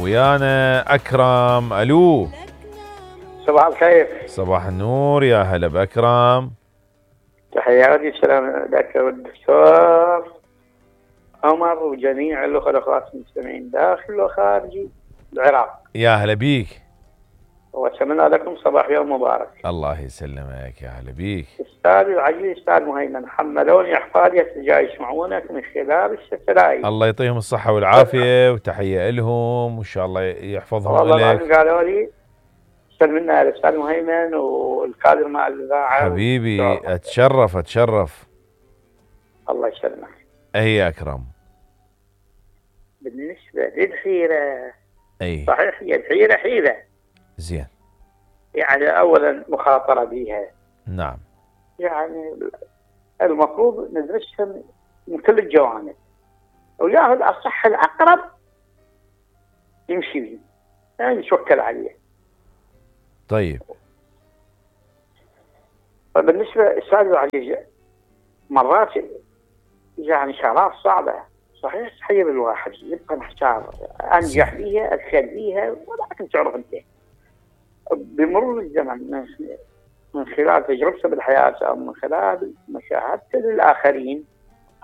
ويانا أكرم. ألو، صباح الخير. صباح النور، يا هلا بأكرم. تحياتي السلام لك والدكتور عمر وجميع الأخوات المستمعين داخل وخارج العراق. يا هلا بيك، وأتمنى لكم صباح يوم مبارك. الله يسلمك، يا هلا بيك. أستاذي العزيز أستاذ مهيمن، حملوني أحفادي جاي يسمعونك من خلال الستلايت. الله يعطيهم الصحة والعافية وتحية لهم وإن شاء الله يحفظهم والله لك. العظيم قالوا لي سلمنا الأستاذ مهيمن والقادر مع الإذاعة. حبيبي أتشرف. الله يسلمك. أي أكرم، بالنسبة للحيرة، أي صحيح هي الحيرة حيرة، زين، يعني أولا مخاطرة بها، نعم، يعني المفروض ندرسها من كل الجوانب، وياهو الأصح الأقرب يمشي به، يعني نتوكل عليه. طيب. فبالنسبة أستاذ العزيز، مرات يعني شغلات صعبة، صحيح تحير الواحد، يبقى محتار أنجح فيها أفشل فيها، ولكن تعرف أنت بمرور الزمن من خلال تجربته بالحياة أو من خلال مشاهدته للآخرين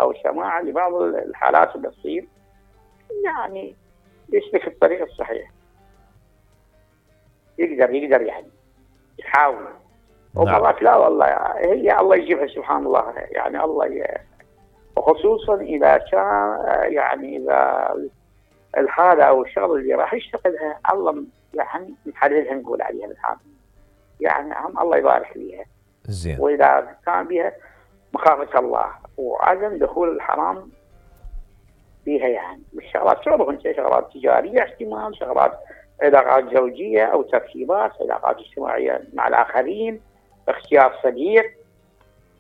أو سماع لبعض الحالات اللي تصير، يعني يسلك الطريق الصحيح، يقدر يعني يحاول. ومرات لا والله هي الله يجيبها سبحان الله، يعني الله وخصوصا إذا كان يعني إذا الحالة أو الشغل اللي راح يشتغلها الله يعني محددها نقول عليها بالحال، يعني هم الله يبارك فيها. زين. وإذا كان بها مخافة الله وعدم دخول الحرام فيها، يعني الشغلات تعرف أنت، شغلات تجارية احتمال، شغلات علاقات زوجية أو ترتيبات علاقات اجتماعية مع الآخرين، اختيار صديق،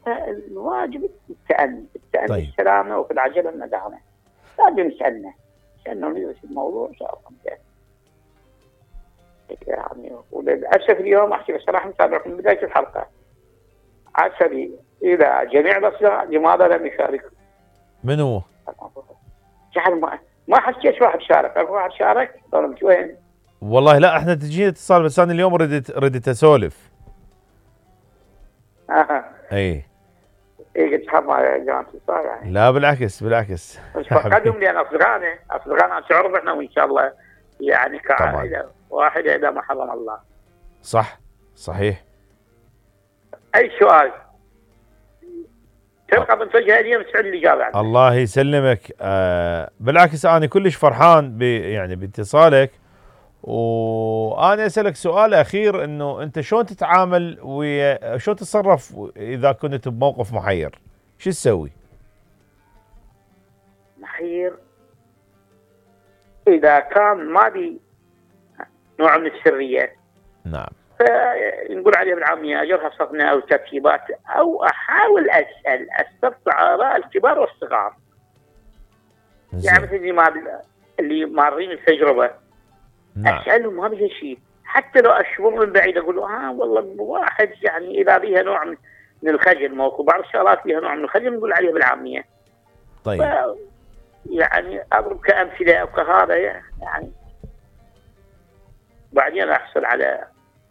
الواجب التأني طيب. السلامة، وفي العجلة الندامة. لازم نسألنا ندرس الموضوع إن شاء الله يعني. وللأسف اليوم أحكي بصراحة متابعكم من بداية الحلقة، عسبي إلى جميع الأصدقاء لماذا لم يشاركوا؟ من هو؟ جعل ما حكيت واحد شارك، أكو واحد شارك ولا وين؟ والله لا، احنا تجينا اتصال بس انا اليوم ردت اسولف. اي قلت حظ يا جماعة الاتصال يعني. لا بالعكس بس فقدهم لأن أصدقائنا تعرف احنا وإن شاء الله يعني كعائلة واحدة إذا ما حرم الله. صح، صحيح. أي سؤال تلقى من توجه اليوم تسعد الإجابة عنه. الله يسلمك. بالعكس أنا كلش فرحان يعني باتصالك، وأنا أسألك سؤال أخير، إنه أنت شلون تتعامل شلون تتصرف إذا كنت بموقف محير؟ شو تسوي؟ محير إذا كان ما بي نوع من السرية، نعم، فنقول عليه بالعامية أجرها صفنة أو ترتيبات، أو أحاول أستطلع آراء الكبار والصغار. يعني مثل اللي مارين التجربة، نعم، أسألهم ما بيها شيء، حتى لو أشوفهم من بعيد أقول والله واحد يعني إذا بيها نوع من الخجل، موقف بعض الشغلات فيها نوع من الخجل نقول عليها بالعامية. طيب. يعني أضرب كأمثلة أو كهذا يعني، بعدين أحصل على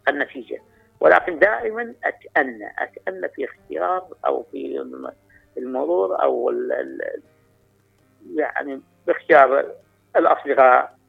النتيجة. ولكن دائما أتأنى في اختيار أو في المرور أو يعني باختيار الأصدقاء